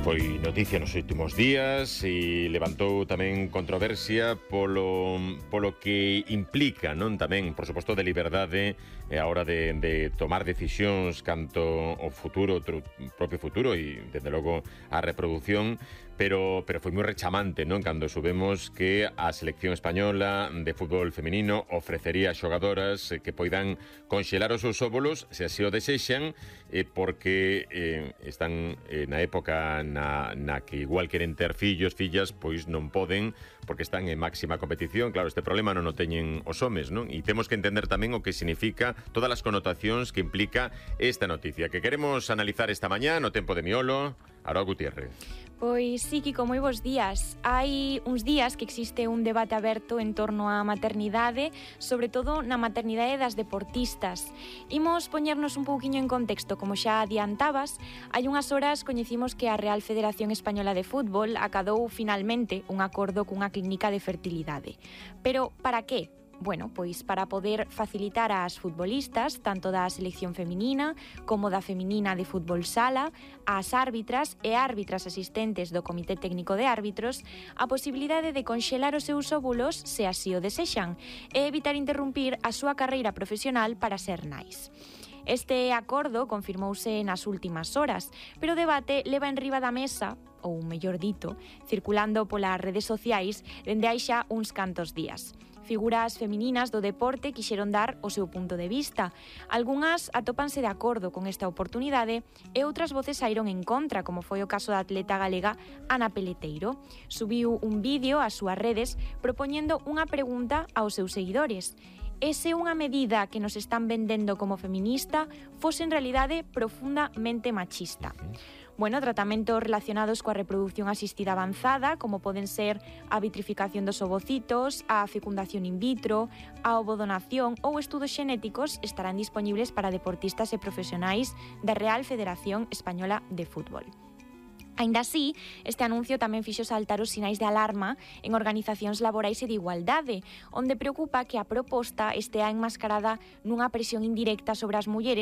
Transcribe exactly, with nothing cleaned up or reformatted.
Foi noticia nos últimos días e levantou tamén controversia polo, polo que implica, non tamén, por suposto, de liberdade a hora de, de tomar decisións canto ao futuro, o propio futuro e, desde logo, a reproducción, pero, pero foi moi rechamante, non? Cando subemos que a selección española de fútbol feminino ofrecería a xogadoras que poidan conxelar os seus óvulos, se así o desexan, eh, porque eh, están eh, na época na, na que igual queren ter fillos, fillas, pois non poden, porque están en máxima competición. Claro, este problema non o teñen os homes, non? E temos que entender tamén o que significa todas as connotacións que implica esta noticia, que queremos analizar esta mañá no Tempo de Miolo. Aroa Gutiérrez. Pois sí, Kiko, moi bons días. Hai uns días que existe un debate aberto en torno á maternidade, sobre todo na maternidade das deportistas. Imos poñernos un pouquiño en contexto, como xa adiantabas. Hai unhas horas coñecimos que a Real Federación Española de Fútbol acadou finalmente un acordo cunha clínica de fertilidade. Pero para que? Bueno, pois para poder facilitar ás futbolistas, tanto da selección feminina como da feminina de fútbol sala, ás árbitras e árbitras asistentes do Comité Técnico de Árbitros, a posibilidade de conxelar os seus óvulos se así o desexan e evitar interrumpir a súa carreira profesional para ser nais. Este acordo confirmouse nas últimas horas, pero o debate leva en riba da mesa, ou mellor dito, circulando polas redes sociais dende hai xa uns cantos días. Figuras femininas do deporte quixeron dar o seu punto de vista. Algunhas atópanse de acordo con esta oportunidade e outras voces saíron en contra, como foi o caso da atleta galega Ana Peleteiro. Subiu un vídeo ás súas redes propoñendo unha pregunta aos seus seguidores. E se unha medida que nos están vendendo como feminista fose en realidade profundamente machista? Bueno, tratamentos relacionados coa reproducción asistida avanzada, como poden ser a vitrificación dos ovocitos, a fecundación in vitro, a ovodonación ou estudos xenéticos estarán dispoñibles para deportistas e profesionais da Real Federación Española de Fútbol. Aínda así, este anuncio tamén fixo saltar os sinais de alarma en organizacións laborais e de igualdade, onde preocupa que a proposta estea enmascarada nunha presión indirecta sobre as mulleres